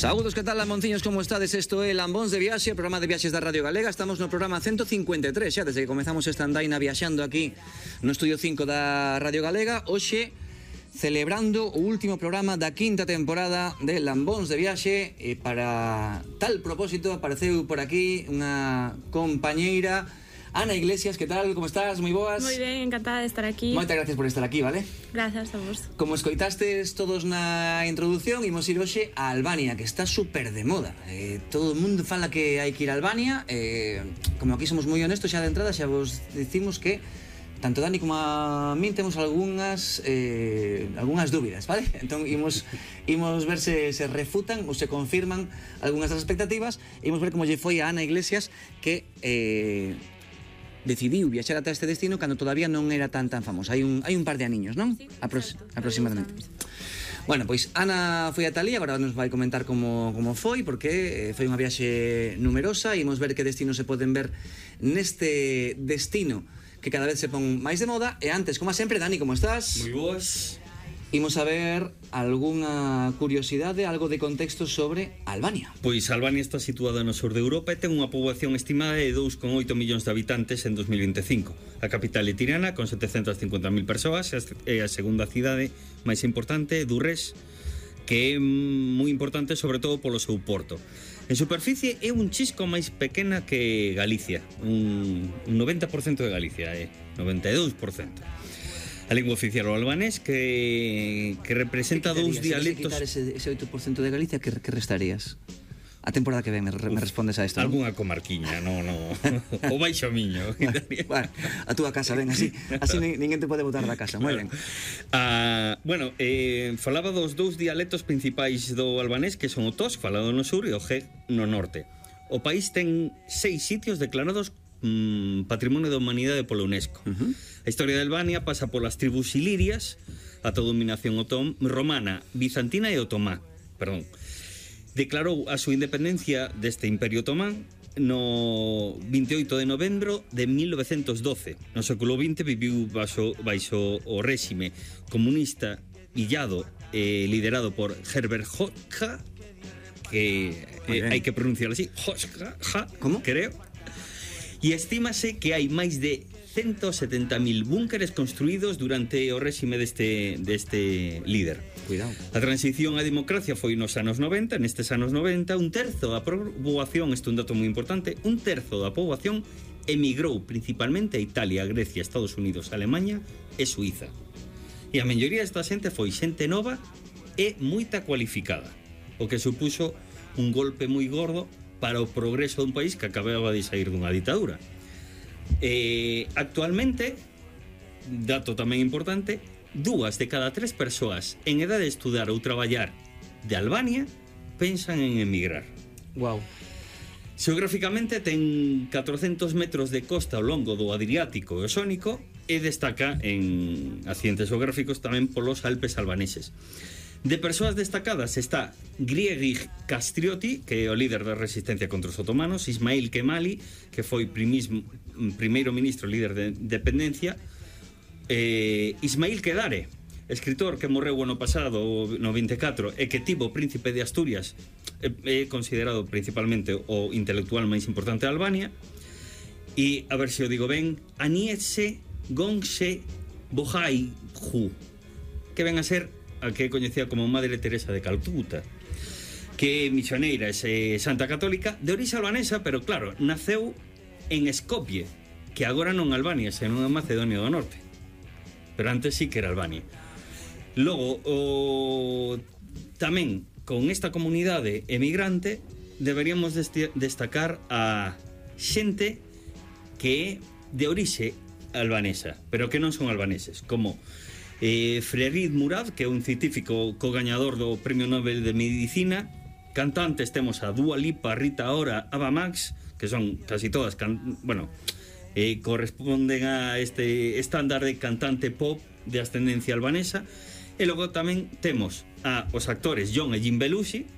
Saúdos, que tal, lambonciños, como estades? Isto é Lambóns de Viaxe, programa de viaxes da Radio Galega. Estamos no programa 153, xa desde que comezamos esta andaina viaxando aquí no Estudio 5 da Radio Galega. Hoxe, celebrando o último programa da quinta temporada de Lambóns de Viaxe. E para tal propósito apareceu por aquí unha compañeira, Ana Iglesias. Que tal, como estás? Moi boas? Moi ben, encantada de estar aquí. Moitas gracias por estar aquí, vale? Grazas a vos. Como escoitastes todos na introdución, imos ir hoxe a Albania, que está super de moda. Todo o mundo fala que hai que ir a Albania. Como aquí somos moi honestos, xa de entrada xa vos dicimos que tanto Dani como a min temos algunhas dúbidas, vale? Entón imos ver se refutan ou se confirman algunhas das expectativas. Imos ver como lle foi a Ana Iglesias, que decidiu viaxar ata este destino cando todavía non era tan famoso. Hai un par de aniños, non? Sí, aproximadamente. Bueno, pois Ana foi ata ali, agora nos vai comentar como foi, porque foi unha viaxe numerosa. Imos ver que destinos se poden ver neste destino que cada vez se pon máis de moda. E antes, como sempre, Dani, como estás? Moi boas. Imos a ver algunha curiosidade, algo de contexto sobre Albania. Pois Albania está situada no sur de Europa e ten unha poboación estimada de 2,8 millóns de habitantes en 2025. A capital é Tirana, con 750.000 persoas, e a segunda cidade máis importante é Durrës, que é moi importante sobre todo polo seu porto. En superficie é un chisco máis pequena que Galicia, un 90% de Galicia, 92%. A lingua oficial o albanés, que representa dous dialectos. Se quitar ese 8% de Galicia, que restarías? A temporada que ven me respondes a isto, ¿no? Algunha comarquiña, no. O baixo miño. Bueno, a túa casa, ven, así ninguén te pode botar da casa, moi ben. Falaba dos dous dialectos principais do albanés, que son o tosk, falado no sur, e o geg no norte. O país ten 6 sitios declarados Patrimonio da Humanidade pola UNESCO. A historia de Albania pasa polas tribus ilirias, a toda dominación romana, bizantina e otomá. Declarou a súa independencia deste Imperio Otomán no 28 de novembro de 1912. No século XX viviu baixo o réxime comunista illado liderado por Herbert Hoxha, que hai que pronunciar así, Hoxha, ¿Cómo? Creo. E estímase que hai máis de 170.000 búnkeres construídos durante o réxime deste líder. Cuidado. A transición á democracia foi nos anos 90. Nestes anos 90, un terzo da poboación, isto é un dato moi importante, un terzo da poboación emigrou principalmente a Italia, Grecia, Estados Unidos, Alemanha e Suiza. E a maioría desta xente foi xente nova e moita cualificada, o que supuxo un golpe moi gordo para o progreso dun país que acababa de sair dunha ditadura. Actualmente, dato tamén importante, 2 de cada 3 persoas en edade de estudar ou traballar de Albania pensan en emigrar. Wow. Xeográficamente ten 400 metros de costa ao longo do Adriático e o Xónico, e destaca en accidentes geográficos tamén polos Alpes albaneses. De persoas destacadas está Griegi Kastrioti, que é o líder da resistencia contra os otomanos, Ismail Kemali, que foi primeiro ministro líder de independencia, Ismail Kedare, escritor que morreu o ano pasado, no 24, e que tivo príncipe de Asturias, é considerado principalmente o intelectual máis importante de Albania, e, a ver se o digo ben, Aniese Gongse Bohaihu, que ven a ser a que é coñecida como Madre Teresa de Calcuta, que é misioneira, é santa católica, de orixe albanesa, pero claro, naceu en Skopje, que agora non Albania, senón en Macedonia do Norte, pero antes sí que era Albania. Logo, tamén con esta comunidade emigrante deberíamos destacar a xente que é de orixe albanesa, pero que non son albaneses, como Frerid Murad, que é un científico co-gañador do Premio Nobel de Medicina. Cantantes temos a Dua Lipa, Rita Ora, Ava Max, que son casi todas corresponden a este estándar de cantante pop de ascendencia albanesa. E logo tamén temos os actores John e Jim Belushi,